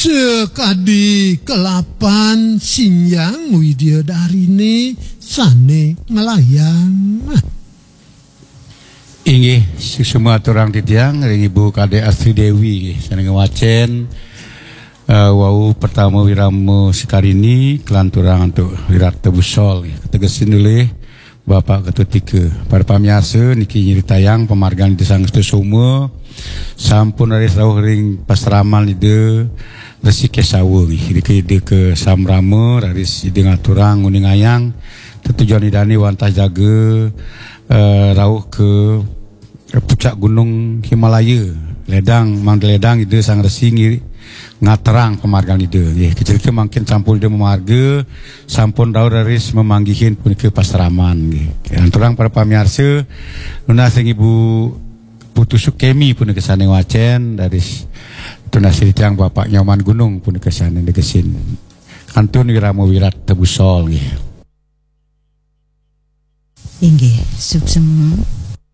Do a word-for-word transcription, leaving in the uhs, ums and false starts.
Sekadi kelapan sinjang Widya Darini sane nglayang. Inggih, suksma aturang titiang ring Ibu Kadek Astri Dewi, nggih, sane ngwacen, eh, wau pertama Wirama Sekarini, kelanturang antuk Wirata Busol, nggih, kategesin olih Bapak Ketua Tika. Para pamiarsa, niki nyritayang pamargan Ida Sang Sutasoma, sampun raris rauh ring pasraman Ida Resi Kesawa, nggih. Irika Ida kasamrama, raris Ida ngaturang nguningayang tetujon Idane wantah jaga, eh, rauh ka pucak Gunung Himalaya. Ledang, mangda ledang Ida Sang Resi ngi-, ngaterang pamargan Ida. Nggih, kacerita mangkin sampun Ida mamarga, sampun rauh raris mamanggihin punika pasraman, nggih. Lanturang para pamiarsa, nunas ring Ibu Putu Sukemi punika sane ngwacen, raris tunas ring tiang Bapak Nyoman Gunung punika sane negesin. Kantun Wirama Wirata Busol, nggih. Inggih, suksma.